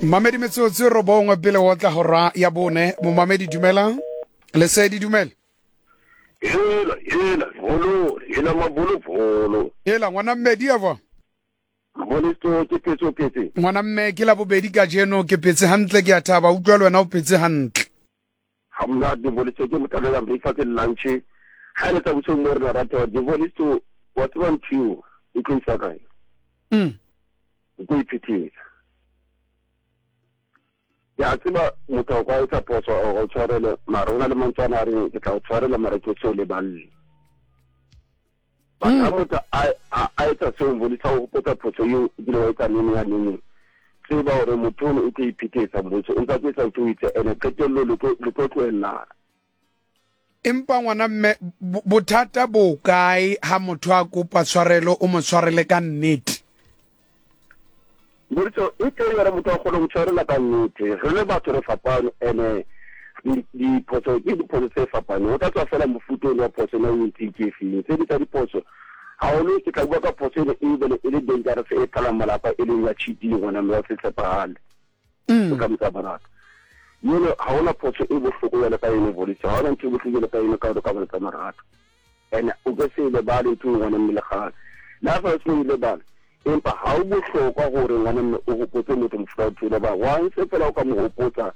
Mamedi metsotso e robongwe pele go tla hora ya bone. Momamedi dumela. Lesedi dumela. Hela, hela, bolo, hela mabolobolo. Hela ngwana mmedi eva. Mabolisto ke phetse o phetse. Ngwana mme ke la bobedi kajeno ke phetse hantle ke a thaba utlwa le wena o phetse hantle. Ha monate Volisto ke motalo ya breakfast le lunch. Ha le tsa bosong mo re rata Volisto wa tseba ntho eo e tlo isa kae? O tlo iphethetsa. Ke a tseba motho a ka etsa phoso a o tshwarele mara o na le mantswe ana a reng ke tla o tshwarela mara ke se o leballe. But ha motho a etsa seo Mbolisa o hopotsa phoso eo o kile wa etsa neng ya neng tseba hore motho ono o tlo iphethetsa Mbolisa o ntsa tlo etsa ntho o itse ene qetello le tlo tlohellana. Empa ngwana mme bothata bo kae ha motho a kopa tshwarelo o mo tshwarele ka nnete? Mbolisa e teng yona motho a kgone go tshwarela ka nnete re le batho re fapane ene diphoso ke diphoso tse fapaneng o tla tswa fela mofuta ono wa phoso ena o entseng ke efeng tse di tsa diphoso haholo ke tla bua ka phoso ene e bele e le dangerous e phalang malapa e leng ya cheating gona mme wa se tshepagale o tla motsa barata yone ga ona phoso e bohloko jalo ka ene volisa ga ona ntho e bohloko jalo ka ene ka gore ka bone tsa marato And o ke se lebale ntho e ngwana mme le gale. Le ha fela o se lebale, empa ha o bohlokwa gore ngwana mme o hopotse motho mofuta wa ntho ba once fela o ka mo hopotsa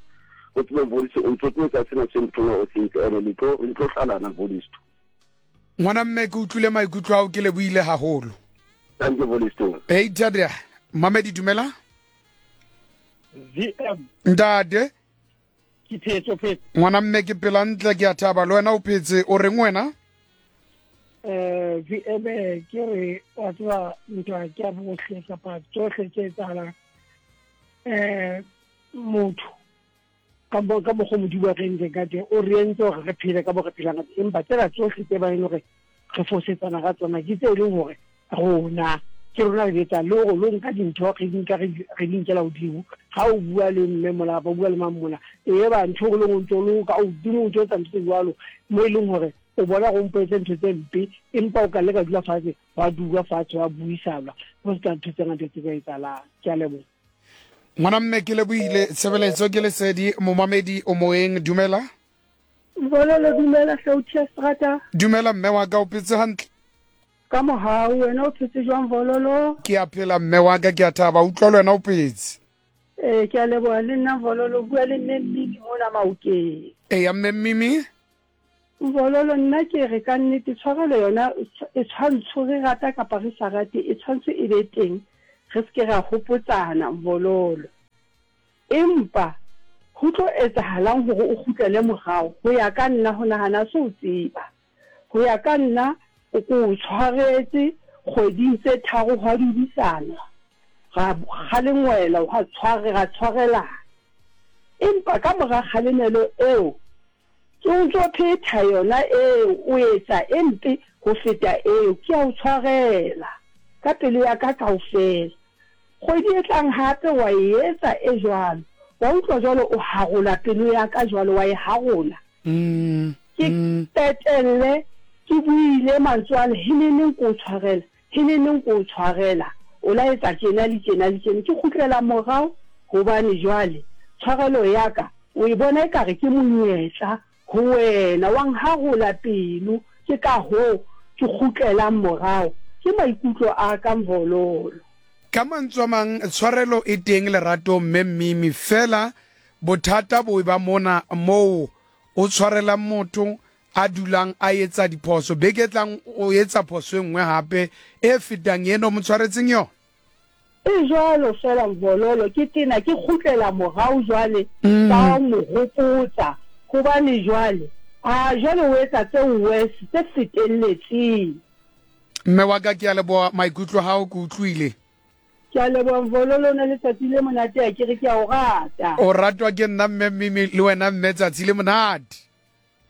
o tsebe Volisto o ntso tlo etsa sena se motho o se ntse ene le tlo le tlo hlalana Volisto. Ngwana mme ke utlwile maikutlo ao ke lebohile haholo. Thank you Volisto. Hey Tadea, Mamedi dumela. VM. Ntate. Ke phetse, o phetse. Ngwana mme ke pela ntle ke a thaba le wena o phetse o reng wena? Eh VM ke re wa tseba ntwa ke ya bohle kapa tsohle tse etsahalang eh motho ka mo ka mokgwa Modimo a re entseng ka teng o re entse hore re phele ka mo re phelang ka teng empa tsena tsohle tse ba e leng hore re fosetsana ka tsona ke tse e leng hore rona ke rona re di etsang le gore lo nka dintho re di nka re di nkela godimo ga o bua le mme mola kapa o bua le mang mola e ba ntho o leng o ntse o le ka godimo o ntse o etsa ntho tse jwalo mo e leng gore o bona go mpo etse ntho tse mpe empa o ka le ka dula fatshe wa dulwa fatshe wa buisanwa go se ka ntho tse ngata tse ka etsalang ke a leboga. Ngwana mme ke lebohile tshebeletso ke lesedi momamedi o moeng dumela. Bololo dumela Hlautia Strata. Dumela mme wa ka o phetse hantle. Ka mohau wena o phetse jwang Vololo? Ke a phela mme wa ka ke a thaba utlwa le wena o phetse. Ee ke a leboha le nna Vololo bua le mme Mmimi mona Maokeng. Eya mme Mmimi. Vololo nna ke re ka nnete tshwarelo yona e tshwantsho re rata kapa re sa rate e tshwantsho e be teng re se ke ra hopotsana Vololo. Empa ho tlo etsahalang hore o kgutlele morao? Ho ya ka nna, ho nahana ha se ho tseba. Ho ya ka nna, o ko o tshwaretse kgweding tse tharo hwa dudisanwa, ra kgalengwela, hwa tshware, ra tshwarelana. Empa ka mora kgalemelo eo, ke o ntso phetha yona eo, o etsa e mpe ho feta eo, ke a o tshwarela ka pelo ya ka kaofela. Kgwedi e tlang hape wa e etsa e jwalo. Wa utlwa jwalo o harola pelo ya ka jwalo, wa e harola. Ke qetelle ke buile mantswe ale, Heneneng ke o tshwarela, heneneng ke o tshwarela, o la etsa tjena le tjena le tjena. Ke kgutlela morao hobane jwale tshwarelo ya ka o e bona ekare ke monyetla ho wena, wa nharola pelo, ke ka hoo ke kgutlelang morao. Ke maikutlo a ka, Mvololo. Ka mantswe a mang, tshwarelo e teng leratong mme Mimi, feela bothata bo eba mona moo o tshwarelang motho a dulang a etsa diphoso, beke e tlang o etsa phoso e nngwe hape e fetang ena o mo tshwaretseng yona. E jwalo feela Mvololo, ke tena ke kgutlela morao jwale ka mo hopotsa hobane jwale, ah, jwale o etsa tse worse, tse fetelletseng. Mme wa ka, ke a leboha maikutlo a hao, ke utlwile. Ke a leboha Mvololo, o na letsatsi le monate akere, ke a o rata. O ratwa ke nna mme Mimi, le wena mme tsatsi le monate.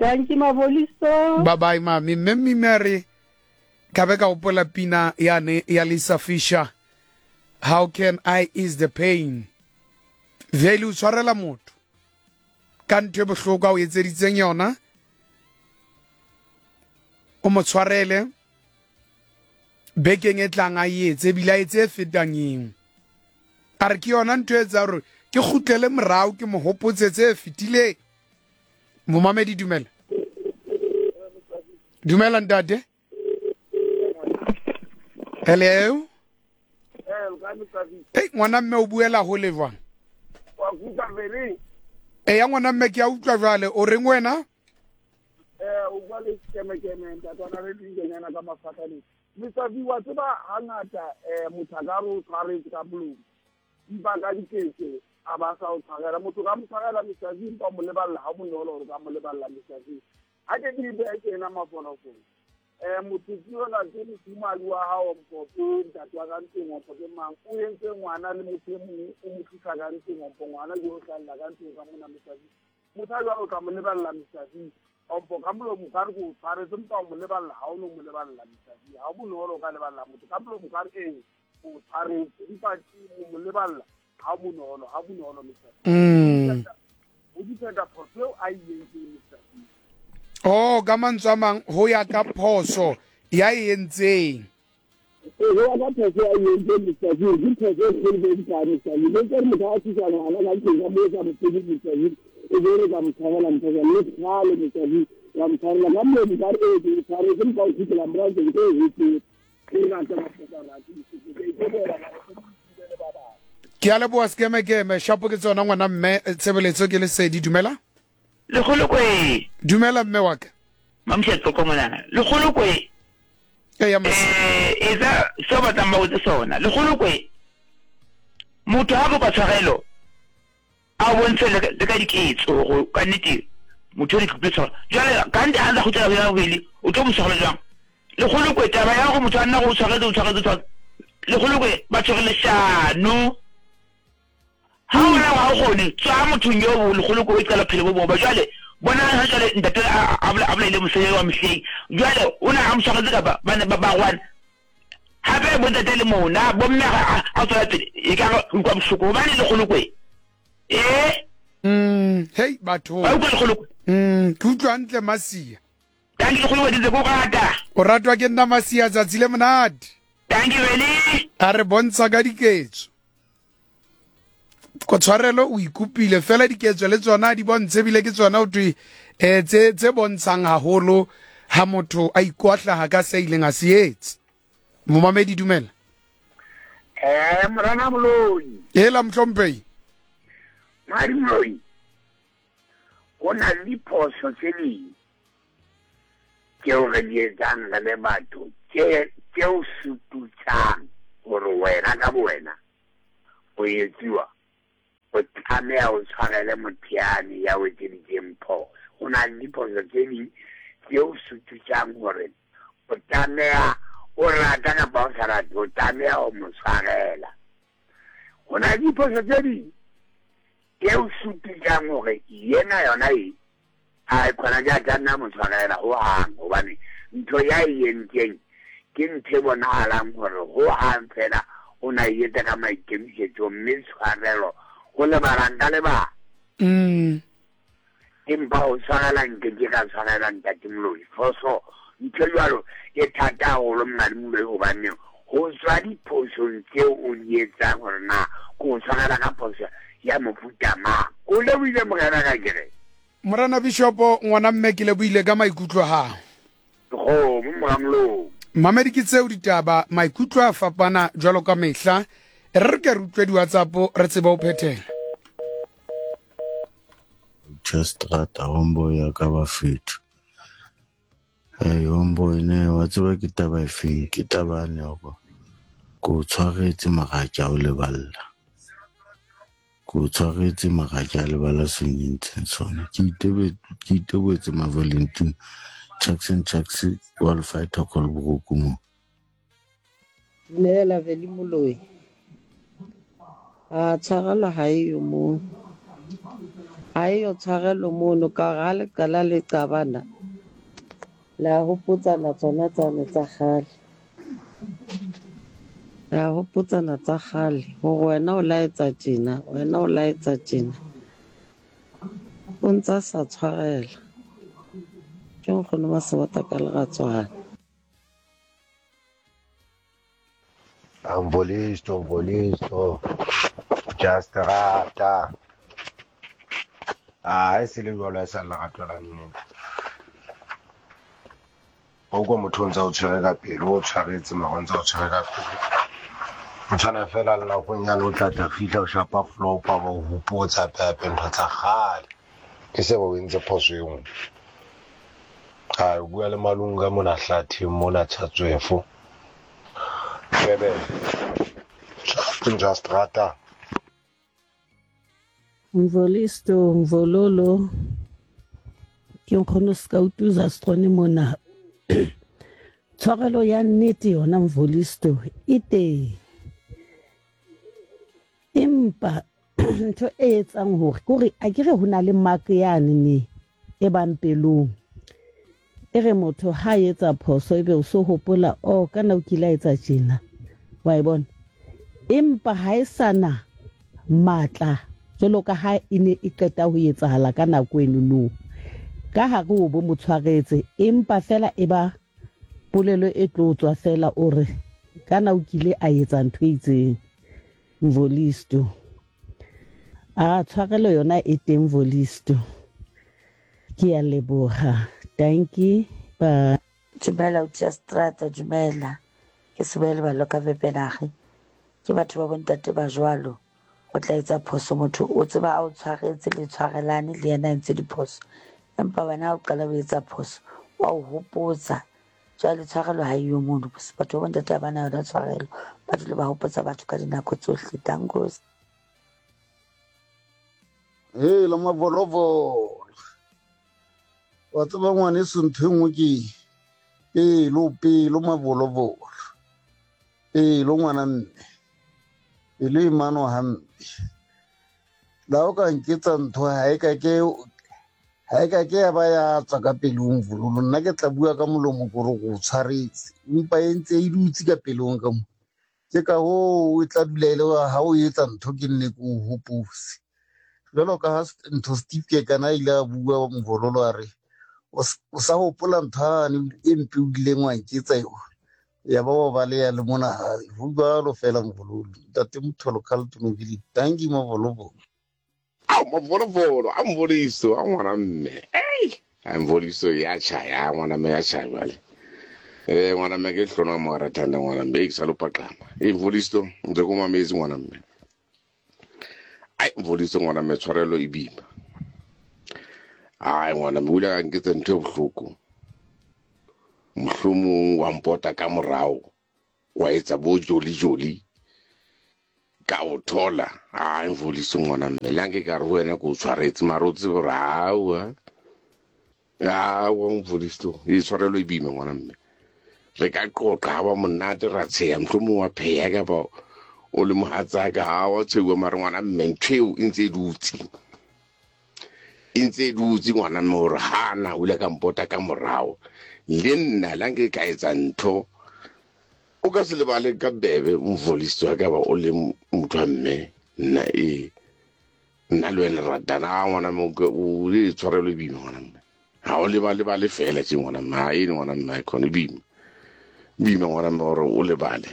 Dankie Mavolisto. Bye bye mami. Mme Mimi a re ka be ka gopola pina yane ya Lisa Fisher. How can I ease the pain? Vele o tshwarela motho ka ntho e bohloko a o etseditseng yona, o mo tshwarele bekeng e tlang a e etse ebile a etse e fetang eo. A re ke yona ntho e etsa gore ke kgutlele morao ke mo hopotse tse fetileng. Momamedi dumela. Dumela ntate. Hello. Hey, ngwana mme o buela hole jwang? Eya ngwana mme ke a utlwa jwale o reng wena? O bua le kemekeme ntatwana re dinkenyana ka mafatlhaneng. Mr. V, wa tseba hangata motho a ka re o tshwaretse ka molomo, empa ka diketso a ba sa o tshwarela. Motho ka mo tshwarela Mr. V, empa o mo leballa ha bonolo hore ka mo leballa Mr. V. Ha ke ke beha tjena mafolofolo. Motho ke yona ke mofumahadi wa hao mpo ke ntate wa ka ntlong ompo ke mang o entse ngwana le motho e mong o mo tlisa ka ntlong ompo ngwana ke o hlahella ka ntlong ka mona Mr. V. Motho a jwalo o tla mo leballa Mr. V. Ompo ka molomo o ka re ke o tshwaretse empa o mo leballa ha o no mo leballa Mr. V. Ha o bonolo o ka leballa motho ka molomo o ka re ee o tshwaretse empa o mo leballa ha bonolo ha bonolo Mr. V. O dipenda phoso eo a e entseng Mr. V. Oh, ka mantswe a mang ho ya ka phoso ya e entseng. Ee, ho ya ka phoso ya e entseng Mr. V, ke phoso e kgolo e kae Mr. V. Le tsere motho a tlisa ngwana ka ntlong ka moo sa mo tsebe Mr. V, e be re ka mo tshwarela ntho jwalo. Le kgale Mr. V, wa mo tshwarela ka molomo ka re ee ke o tshwaretse empa o kgutlela morao ke ntse e hotse. Ke rata batho ba rate Mr. V, ke a itebohela mara ke mo le ba bang. Ke a leboha Sekemekeme, shapo ke tsona ngwana mme, tshebeletso ke lesedi, dumela. Lekgolokwe. Dumela mme wa ka. Mamusha Tsoko monana. Lekgolokwe. Eya mose. Eh, etsa seo batlang ba botse sona. Lekgolokwe. Motho ha kopa tshwarelo a bontshe le ka diketso gore ka nnete motho o di tshwarelo. Jwale ka nnete ha ntse kgutlela ho ya bobedi o tlo mo tshwarela jwang? Lekgolokwe taba ya gore motho a nna go o tshwaretse o tshwaretse o tshwaretse. Lekgolokwe batho re leshano. Ha o bona ha o kgone, tswa mothong yo lekgolo ko o iqala bophelo bo bong. Ba jwale bonang ha jwale ntate a a bolaile mosadi wa mehleng. Jwale o na a mo tshwaretse kapa ba ne ba ba rwana. Hape bo ntate le mona bo mme ha a tswela pele e ka re utlwa bohloko hobane lekgolokwe. Eh? Hey batho. Ba utlwa lekgolokwe. Ke utlwa hantle Masia. Dankie lekgolokwe ke ntse ke o rata. O ratwa ke nna Masia tsatsi le monate. Dankie Veli. A re bontsha ka diketso. Ko tshwarelo o ikopile fela diketso le tsona di bontshe ebile ke tsona o thwe um tse tse bontshang haholo ha motho a ikwahlaha ka se ileng a se etse. Momamedi dumela. Eh morena Moloi. Ela mohlomphei. Madi Moloi. Ho na le diphoso tse ding tseo re di etsang re le batho tse tseo sututsang hore wena ka bowena o etsuwa o tlameha o tshwarele motho yane ya o etseditseng phoso. Ho na le diphoso tse ding tseo sututsang hore o tlameha o rata kapa o sa rate o tlameha ho mo tshwarela. Ho na le diphoso tse ding tseo sututsang hore yena yona e A khona ke a tla nna mo tshwarela ho hang hobane ntho ya e entseng ke ntho e bonahalang hore ho hang fela o na e etsa ka maikemisetso mme tshwarelo ho lebala nka lebala. Empa ho tshwarela nke ke ka tshwarela Ntate Moloi. Phoso ntho e jwalo e thata haholo Monghadi Moloi hobane ho tswa diphosong tseo o di etsang hore na ke o tshwarela ka phoso ya mofuta mang. O lebohile morena ka ke re. Morena Bishopo, ngwana mme ke lebohile ka maikutlo a gago. Dikgomo mora molomo. Mamedi ke tseo ditaba, maikutlo a fapana jwalo ka mehla. E re re ke re utlwe di-WhatsApp re tsebe ho phethela. Chestrata homeboy ya ka bafethu. Hey homeboy ne wa tseba ke taba efeng ke taba yane ya gore ke o tshwaretse mara ke a o leballa. Ke o tshwaretse mara ke a lebala se o nyentseng sona. Ke itebe ke iteboetse Mavalentine Chucks and Chucks wa Lefaetha Kolboroku mo. Dumela Veli Moloi. A tshwarelo ha eyo moo. Ha eyo tshwarelo mono ka hore ha le qala le qabana la hopotsana tsona tsane tsa kgale. Re a hopotsana tsa kgale hore wena o la etsa tjena, wena o la etsa tjena. O ntsa sa tshwarela. Ke nkgono wa Sebata ka Leratswana. Amvolisto, Mvolisto. Jastrata. A e se le jwalo, e sa lerato la nnete. O kwa motho o ntse o tshwere ka pelo, o tshwaretse mara o ntse o tshwere ka pelo. O tshwana fela le nakong yane o tla tla fihla o shapa flopa ba o hopotsa hape-hape ntho tsa kgale. Ke se ba o entse phoso e nngwe. A o bua le Malunga mona hlatheng mona Chatswefo. Durban. Just rata. Mvolisto Mvololo ke nkgono Skautuza Strone mona. Tshwarelo ya nnete yona Mvolisto e teng. Empa ntho e etsang hore kore a ke re ho na le mark yane ne e bang pelong. E re motho ha a etsa phoso ebe o so hopola oh kana o kile a etsa tjena. Wa e bona? Empa ha e sa na matla jwalo ka ha e ne e qeta ho etsahala ka nako eno no. Ka hare o bo mo tshwaretse empa fela e ba polelo e tlo tswa fela o re kana o kile a etsa ntho e itseng. Mvolisto. A tshwarelo yona e teng Volisto. Ke a leboga. Dankie. Bye. Dumela Utia Strata, dumela. Ke Seboele Baloka Vepenage. Ke batho ba bontate ba jwalo. O tla etsa phoso motho o tseba a o tshwaretse le tshwarelane le yena a entse diphoso. Empa wena ha o qala o etsa phoso wa o hopotsa. Jwale tshwarelo ha eyo mono. Batho ba bontate ha ba na yona tshwarelo. Ba dule ba hopotsa batho ka dinako tsohle. Dankos. Hela mavolovolo. Wa tseba ngwaneso ntho e nngwe ke pelo pelo mavolovolo. Pelo ngwana mme. Pelo e mano hampe. La o ka nketsa ntho ha e ka ke ha e ka ke ya ba ya tswa ka pelong vololo nna ke tla bua ka molomo kore go tshwaretse empa e ntse e dutse ka pelong ka mo Ke ka hoo e tla dula e le ha o etsa ntho ke nne ke o hopose. Jwalo ka ha ntho Steve Kekana a ile a bua Mvololo a re o sa hopola ntho yane e mpe o ileng wa nketsa yona. Ya ba wa baleha le mona hae. Ho jwalo feela Mvololo. Ntate Motholo Carlton Obili. Dankie Mavolovolo. Ao mavolovolo a mvoliso a ngwana mme ei a mvoliso ya tšhaya ngwana mme ya tšhaya jale eh ngwana mme ke hlona mo rathanda ngwana mme ke sa lo paqama e mvoliso ntse ko mametse ngwana mme ai mvoliso ngwana mme tshwarelo e bima ai ngwana mme o ile a nketsa ntho e bohloko mohlomong wa mpota ka morao wa etsa bo joli joli ka o thola a mvoliso ngwana mme le anke ka re ho wena ke o tshwaretse mara o tsebe gore aowa aowa mvoliso e tshwarelo e bime ngwana mme re ka qoqa ga ba monate ra tsheya mohlomong wa pheya kapa o le mohatsaka ga wa tsheuwa mare ngwana mme ntho eo e ntse e dutse e ntse e dutse ngwana mme gore gana o ile ka mpota ka morago le nna la nke ka etsa ntho o ka se lebale ka bebe mvolisto ka ba o le motho wa mme nna e nna le wena ratana a ngwana mme o le tshwarelo e bima ngwana mme ga o lebale bale fela tse ngwana mme ga ene ngwana mme a kgone bima bima ngwana mme gore o lebale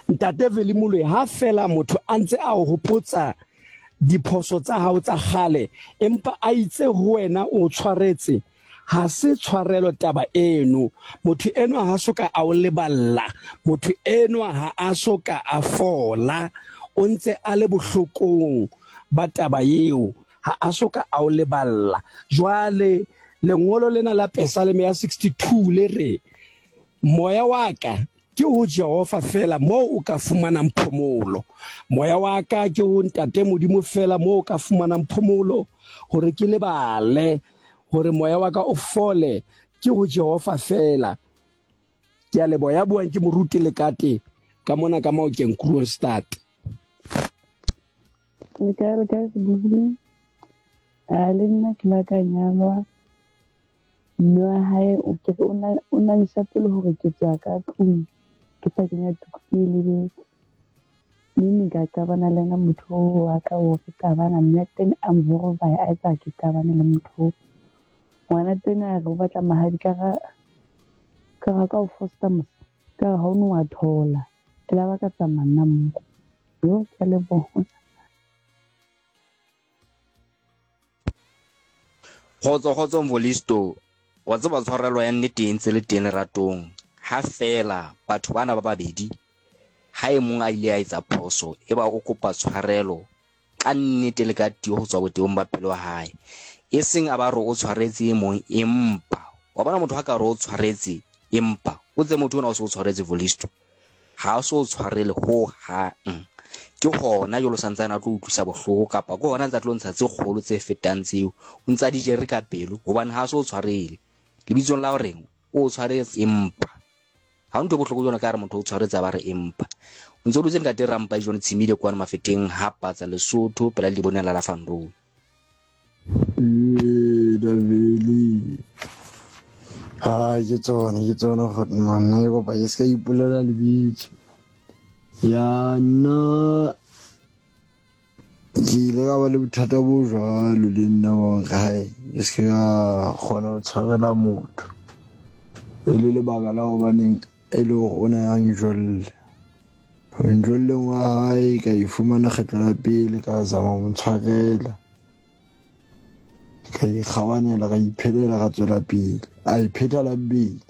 Ntate Veli Moloi ha fela motho a ntse a o hopotsa diphoso tsa hao tsa kgale empa a itse ho wena o tshwaretse ha se tshwarelo taba eno. Motho enwa ha so ka a o leballa, motho enwa ha a so ka a fola, o ntse a le bohlokong ba taba eo, ha a so ka a o leballa. Jwale lengolo lena la Pesaleme ya 62 le re, Moya wa ka ke ho Jehova feela moo o ka fumanang phomolo. Moya wa ka ke ho Ntate Modimo feela moo o ka fumanang phomolo, hore ke lebale, hore moya wa ka o fole, ke ho Jehova feela. Ke a leboha. Ya buang ke Moruti Lekate ka mona ka Maokeng, Kroonstad. Le kae le kae sebohodi? A le nna ke la ka nyalwa. Mme wa hae o ke re o na isa pele hore ke tswa ka tlung ke sa kenya tuku ke e lebetse. Mme ne ka qabana le ena motho oo wa ka oo re qabana mme a teng a mvorobaya a etsa ke qabane le motho oo. Ngwana teng a re o batla mahadi ka ra ka ra ka o fosta mos ka re ha o no wa thola. E la ba ka tsamaya nna mmogo. Yo, ke a leboha. Kgotso kgotso Mvolisto, wa tseba tshwarelo ya nnete e ntse le teng leratong ha feela batho bana ba babedi ha e mong a ile a etsa phoso e ba o kopa tshwarelo ka nnete le ka tiyo ho tswa botebong ba pelo ya hae, e seng a ba re o tshwaretse e mong empa wa bona motho ha ka re o tshwaretse empa o tse motho ona o se o tshwaretse Volisto ha o se o tshwarele ho hang ke hona jwalo santsane a tlo utlwisa bohloko kapa ke hona ntse a tlo ntsha tse kgolo tse fetang tseo o ntse a di jere ka pelo hobane ha se o tshwarele lebitsong la horeng o tshwaretse empa Ha ho ntho e bohloko jwalo ka re motho o tshwaretse a ba re empa. O ntse o dutse ntate Rampa John Tshimile kwano Mafeteng ha Patsa Lesotho pela Leboneng la Lafandou. Ee, Daveli. Ha ke tsona, ke tsona Godman. Nna ke kopa ke se ka ipolela lebitso. Ya nna Ke ile ka ba le bothata bo jwalo le nna ba hore hae ke se ka kgona ho tshwarela motho. E le lebaka la hobaneng e le hore o ne a njolle. Ho njolleng wa hae ka ifumana kgetlo la pele ka zama ho mo tshwarela. Ka ikgabanela ka iphelela ka tswela pele. A iphetha la bobedi.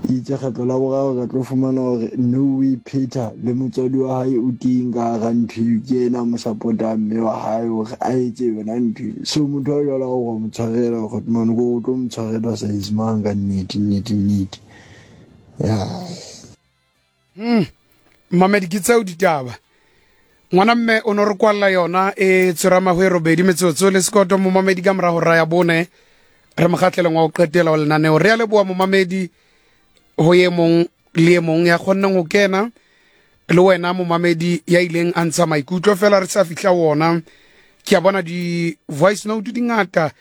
Itse kgetlo la boraro ka tlo fumana hore no o iphetha le motswadi wa hae o teng ka hara ntho eo, ke ena a mo support-ang mme wa hae hore a etse yona ntho eo. So motho a jwalo ha o ka mo tshwarela kgotmane ko o tlo mo tshwarela size mang ka nnete nnete nnete. Ya. Mamedi ke tseo ditaba. Ngwana mme o no re kwalla yona e tswera mahwe robedi metsotso le sekoto momamedi ka morago ra ya bone re mogatleleng wa go qetela wa lenaneo. Re a leboa momamedi ho ye mong le ye mong ya kgonneng go kena le wena momamedi ya ileng a ntsha maikutlo fela re sa fihla wona. Ke a bona di voice note di ngata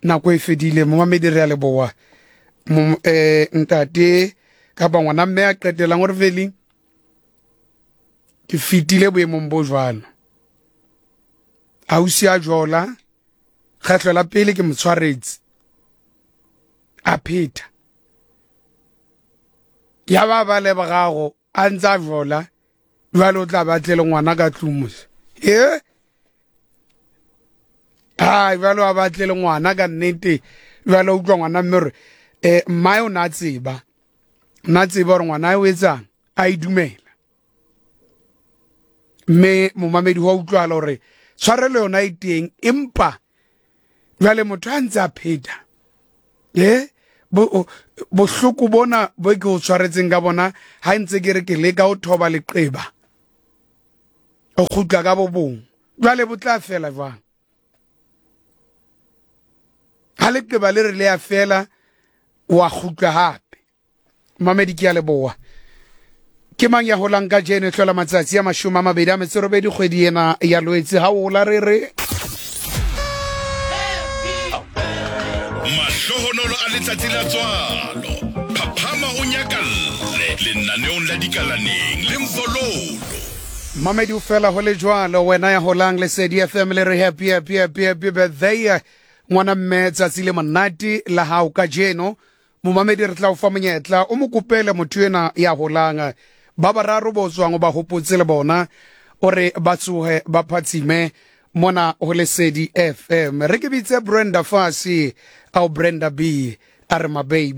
nako e fedile momamedi re a leboa. Ntate kapa ngwana mme a qetelang o re feli ke fetile boemong bo jwalo ausi a jola kgetlho la pele ke mo tshwaretse a pheta ya ba ba lebogago a ntse a jola jwale o tla ba tle le ngwana ka tlung mose e ai jwale wa batle le ngwana ka nnete jwale utlwa ngwana mme gore um mmae o ne a tseba na tseba gore ngwana o etsang a e dumela mme momamedi wa utlwala gore tshwarelo yona e teng empa jwale motho a ntse a pheta e bohloko bona bo ke o tshwaretseng ka bona ha ntse ke re ke leka ho thoba leqeba o kgutla ka bo bong jwale bo tla fela jwang ha leqeba le re le ya fela wa kgutla hape mamedi ke ya leboa ke mang ya holang ka jeno e hlola matsatsi a 28 kgwedi ena ya Loetse ha o hola re re Mahlohonolo a letsatsi la tswalo. Phaphama o nyakalle lenaneong la Dikalaneng le Mvololo. Mamedi o fela ho le jwalo wena ya holang Lesedi FM le re happy happy happy happy birthday ngwana mme tsatsi le monate la hao kajeno Momamedi re tla o fa monyetla o mo kopele motho ena ya holang ba bararo bo tswang o ba hopotse le bona o re ba tsohe ba phatsime mona ho Lesedi FM. Re ke bitse Brenda Fassie au Brenda B a re mababy.